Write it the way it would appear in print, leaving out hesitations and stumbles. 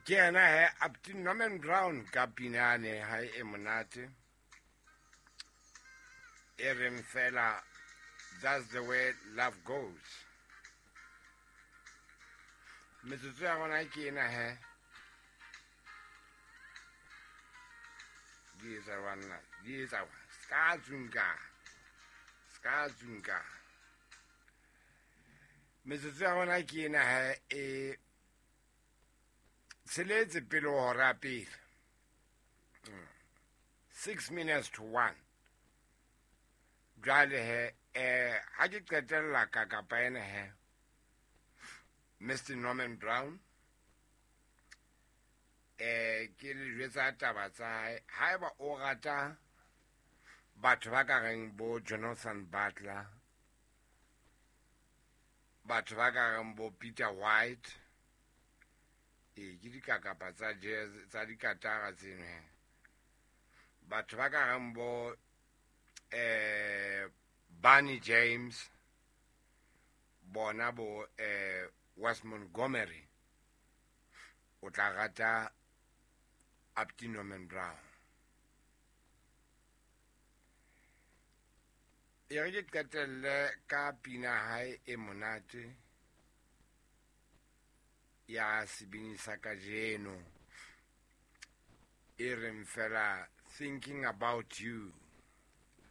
Ke yena he Apti Norman Brown ka pina yane hae e monate e reng fela that's the way love goes. Metsotso ya rona ke ena he di etsa banna di etsa ska tsunka ska tsunka. Metsotso ya rona ke ena he e tsheletse pele ho hora ya pele. 1:06. Jwale he ha ke qetella ka kapa ena he Mr Norman Brown ke le jwetsa taba tsa hae. Haeba o rata batho ba ka reng bo Jonathan Butler, batho ba ka reng bo Peter White, ke dikakapa tsa jazz tsa dikatara tseno he. Batho ba ka reng bo Barney James, bona bo Wes Montgomery, o tla rata Apti Norman Brown. E re ke qetelle ka pina hae e monate ya sebini sa kajeno e reng fela Thinking About You.